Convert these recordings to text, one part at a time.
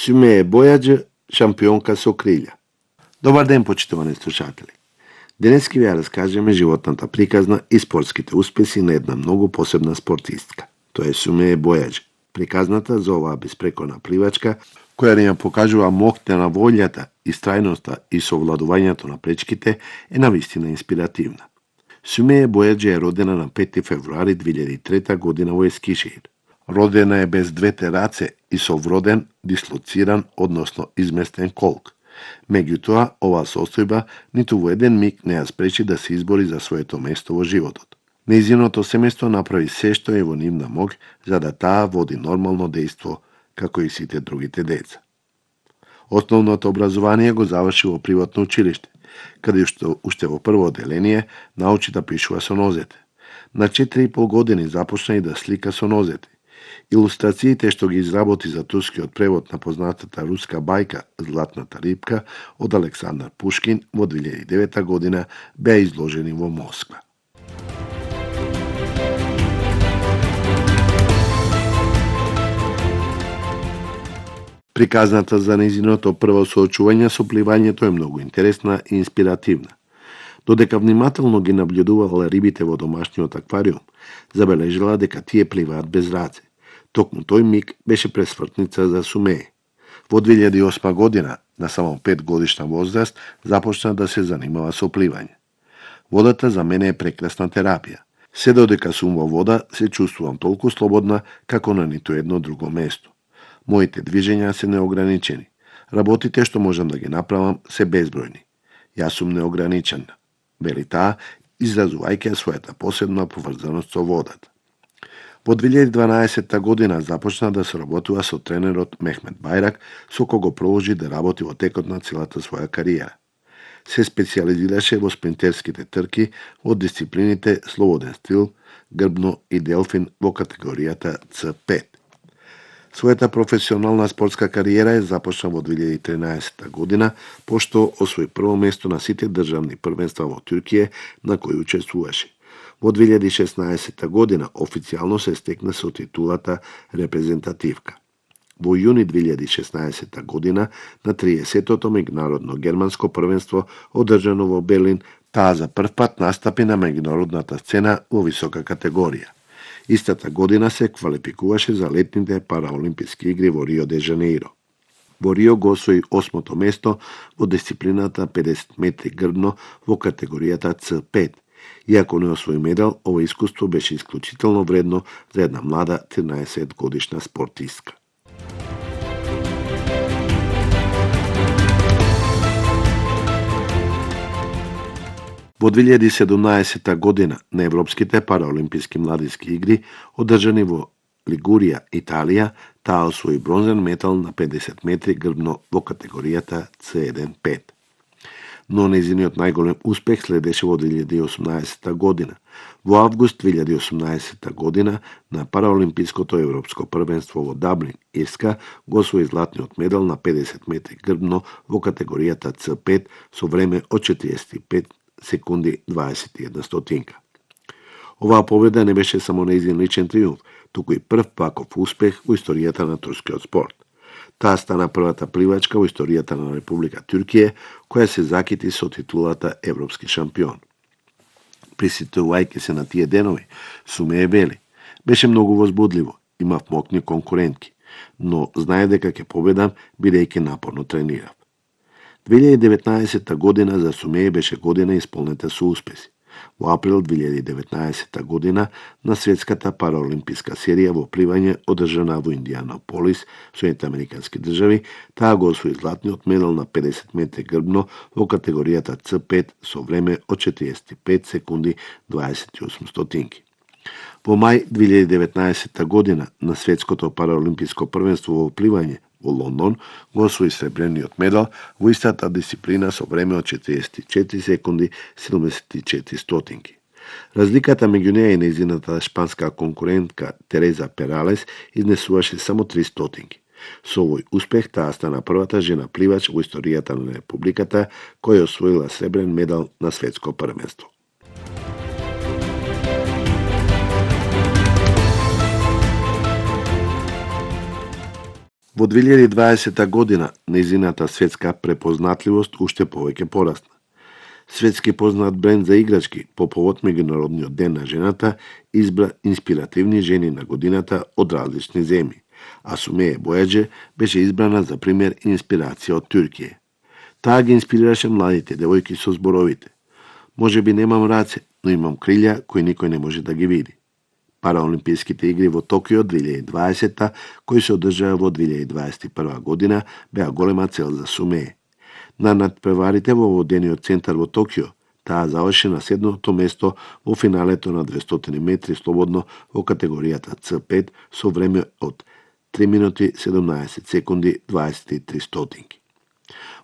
Сумеја Бојаџи, шампионка со крилја. Добар ден, почитувани слушатели. Денески ви ја раскажеме животната приказна и спортските успеси на една многу посебна спортистка. Тоа е Сумеја Бојаџи. Приказната за оваа беспрекорна пливачка, која ни ја покажува моќта на волјата, истрајноста и совладувањето на пречките, е навистина инспиративна. Сумеја Бојаџи е родена на 5 февруари 2003 година во Ескишехир. Родена е без двете раце и со вроден, дислоциран, односно изместен колк. Меѓутоа, оваа состојба ниту во еден миг не ја спречи да се избори за своето место во животот. Нејзиното семејство направи се што е во нивна моќ за да таа води нормално дејство, како и сите другите деца. Основното образование го заврши во приватно училиште, каде што уште во прво одделение научи да пишува со нозете. На 4,5 години започна и да слика со нозете. Илустрациите што ги изработи за турскиот превод на познатата руска бајка Златната рибка од Александар Пушкин во 2009 година беа изложени во Москва. Приказната за нејзиното прво соочување со пливањето е многу интересна и инспиративна. Додека внимателно ги наблюдувала рибите во домашниот аквариум, забележала дека тие пливаат без раце. Токму тој миг беше пресвртница за Сумеја. Во 2008 година, на само 5 годишна возраст, започна да се занимава со пливање. Водата за мене е прекрасна терапија. Се додека сум во вода, се чувствувам толку слободна како на ниту едно друго место. Моите движења се неограничени. Работите што можам да ги направам се безбројни. Јас сум неограничена, вели таа, изразувајќи својата посебна поврзаност со водата. Во 2012 година започна да се работува со тренерот Мехмет Бајрак, со кого продолжи да работи во текот на целата своја кариера. Се специализираше во спринтерските трки во дисциплините слободен стил, грбно и делфин во категоријата C5. Својата професионална спортска кариера е започна во 2013 година, пошто освои прво место на сите државни првенства во Туркија на кои учествуваше. Во 2016 година официјално се стекна со титулата репрезентативка. Во јуни 2016 година на 30-тото меѓународно германско првенство одржано во Берлин, таа за прв пат настапи на меѓународната сцена во висока категорија. Истата година се квалификуваше за летните параолимписки игри во Рио де Жанеиро. Во Рио го освои 8-то место во дисциплината 50 метри грбно во категоријата C5. Иако не освои медал, ова искуство беше исклучително вредно за една млада 13 годишна спортистка. Во 2017 година на Европските параолимписки младински игри, одржани во Лигурија, Италија, таа освои бронзен медал на 50 метри грбно во категоријата C1-5. Но нејзиниот најголем успех следеше во 2018 година. Во август 2018 година на Параолимпиското европско првенство во Даблин, Ирска, го освои златниот медал на 50 метри грбно во категоријата C5 со време од 45 секунди 21 стотинка. Оваа победа не беше само нејзин личен триумф, туку и прв паков успех во историјата на турскиот спорт. Таа стана првата пливачка во историјата на Република Туркија која се закити со титулата Европски шампион. Присетувајќи се на тие денови, Сумеја вели: беше многу возбудливо, имав моќни конкурентки, но знае дека ќе победам бидејќи напорно тренирав. 2019 година за Сумеја беше година исполнета со успеси. Во април 2019 година на Светската параолимписка серија во пливање одржана во Индианаполис, Соединените Американски држави, таа го освои златниот медал на 50 метри грбно во категоријата C5 со време од 45 секунди 28 стотинки. Во мај 2019 година на Светското параолимписко првенство во пливање во Лондон го освои сребрениот медал во истата дисциплина со време од 44 секунди 74 стотинки. Разликата меѓу неа и нејзината шпанска конкурентка Тереза Пералес изнесуваше само 3 стотинки. Со овој успех таа стана првата жена пливач во историјата на Републиката која освоила сребрен медал на светско првенство. Во 2020 година нејзината светска препознатливост уште повеќе порасна. Светски познат бренд за играчки по повод Меѓународниот ден на жената избра инспиративни жени на годината од различни земји, а Сумеје Бојаџе беше избрана за пример и инспирација од Туркија. Таа ги инспирираше младите девојки со зборовите: "Може би немам раце, но имам крилја кои никој не може да ги види." Параолимписките игри во Токио 2020, кои се одржаа во 2021 година, беа голема цел за Сумеје. На надпреварите во водениот центар во Токио, таа заврши на 7-то место во финалето на 200 метри слободно во категоријата C5 со време од 3 минути 17 секунди 23 стотинки.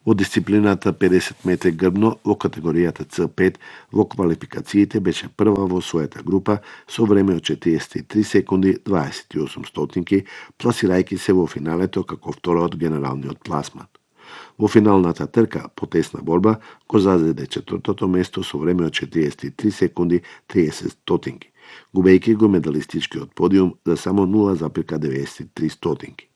Во дисциплината 50 метри грбно во категоријата C5 во квалификациите беше прва во својата група со време од 43 секунди 28 стотинки, пласирајќи се во финалето како втора од генералниот пласман. Во финалната трка по тесна борба го зазеде четвртото место со време од 43 секунди 30 стотинки, губејќи го медалистичкиот подиум за само 0,93 стотинки.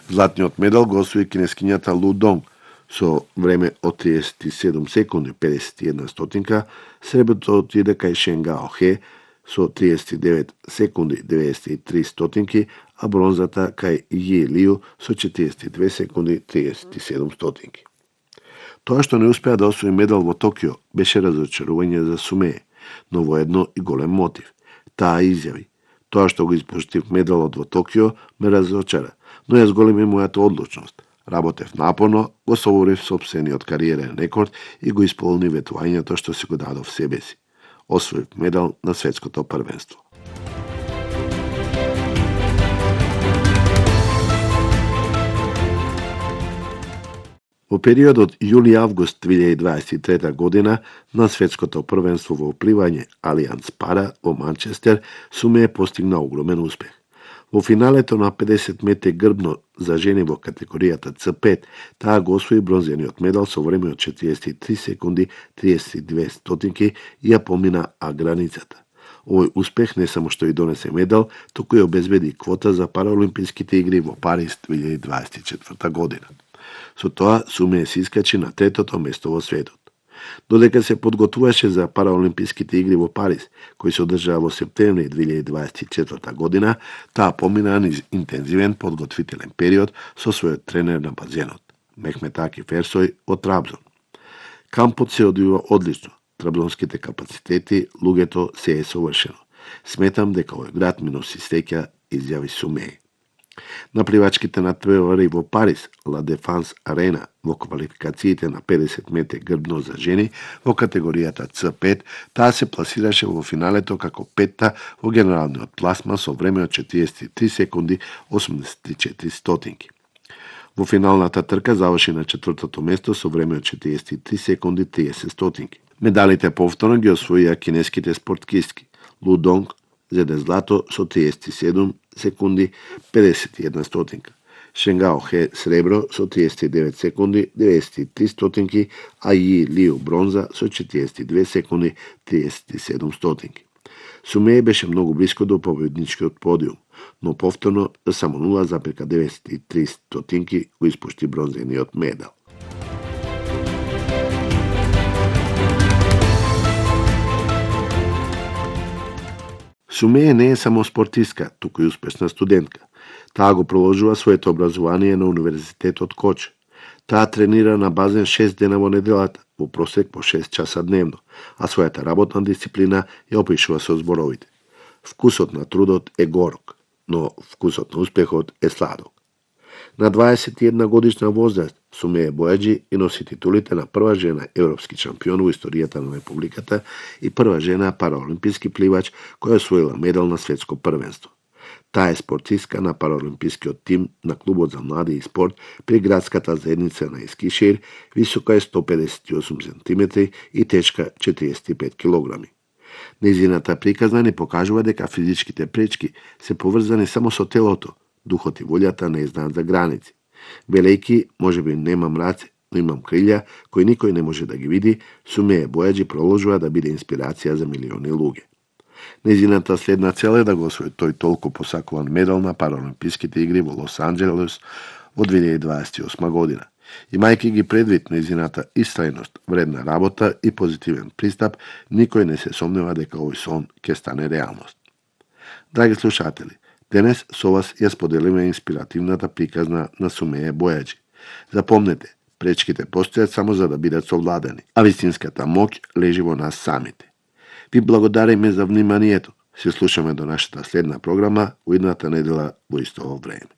Златниот медал го освои кинескињата Лу Донг со време од 37 секунди 51 стотинка, среброто отиде кај Шен Гао Хе со 39 секунди 93 стотинки, а бронзата кај Ји Лиу со 42 секунди 37 стотинки. Тоа што не успеа да освои медал во Токио беше разочарување за Сумеје, но воедно и голем мотив. Таа изјави: "Тоа што го испуштив медалот во Токио ме разочара, но ја зголеми мојата одлучност. Работев напорно, го соборив сопствениот кариерен рекорд и го исполни ветувањето што си го дадов себе си. Освоив медал на светското првенство." Во периодот јули-август 2023 година на светското првенство во пливање Алијанс Пара во Манчестер, Сумеје постигна огромен успех. Во финалето на 50 метри грбно за жени во категоријата C5, таа го освои бронзениот медал со време од 43 секунди 32 стотинки и ја помина границата. Овој успех не само што и донесе медал, туку и обезбеди квота за Параолимписките игри во Париз 2024 година. Со тоа Сумеје се искачи на третото место во светот. Додека се подготвуваше за Параолимписките игри во Париз, кои се одржаа во септември 2024 година, таа помина низ интензивен подготвителен период со својот тренер на базенот, Мехмет Акиф Ерсој од Трабзон. Кампот се одвива одлично, трабзонските капацитети, луѓето се е совршено. Сметам дека овој град ми носи среќа, изјави Сумеје. На пливачките надпревари во Париз, Ла Дефанс Арена, во квалификациите на 50 метри грбно за жени во категоријата C5, таа се пласираше во финалето како петта во генералниот пласман со време од 43 секунди 84 стотинки. Во финалната трка заврши на четвртото место со време од 43 секунди 30 стотинки. Медалите повторно ги освоија кинеските спорткистки. Лу Донг зеде злато со 37 секунди 51 стотинка. Шен Гао Хе сребро со 39 секунди 93 стотинки, а Ји Лиу бронза со 42 секунди 37 стотинки. Сумеје беше многу блиско до победничкиот подиум, но повторно за само 0,93 стотинки го испушти бронзениот медал. Сумеје не е само спортистка, туку и успешна студентка. Таа го продолжува своето образование на Универзитетот Коч. Таа тренира на базен 6 дена во неделата, во просек по 6 часа дневно, а својата работна дисциплина ја опишува со зборовите: "Вкусот на трудот е горок, но вкусот на успехот е сладок." На 21 годишна возраст Сумеје Бојаџи и носи титулите на прва жена европски шампион во историјата на Републиката и прва жена параолимписки пливач која освоила медал на светско првенство. Таа е спортистка на параолимпискиот тим на клубот за млади и спорт при градската заедница на Ескишир, висока е 158 см и тешка 45 кг. Нејзината приказна не покажува дека физичките пречки се поврзани само со телото, духот и волјата не знаат за граници. Велејки, можеби немам раце, но имам крилја кои никој не може да ги види, Сумеје Бојаџи продолжува да биде инспирација за милиони луѓе. Нејзината следна цел е да го освои тој толку посакуван медал на Параолимписките игри во Лос Анџелес во 2028 година. Имајќи ги предвид нејзината истрајност, вредна работа и позитивен пристап, никој не се сомнева дека овој сон ќе стане реалност. Драги слушатели, денес со вас ја споделиме инспиративната приказна на Сумеје Бојаджи. Запомнете, пречките постојат само за да бидат совладани, а вистинската моќ лежи во нас самите. Ви благодариме за вниманието. Се слушаме до нашата следна програма во идната недела во исто време.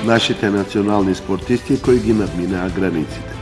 Нашите национални спортисти кои ги надминаа границите.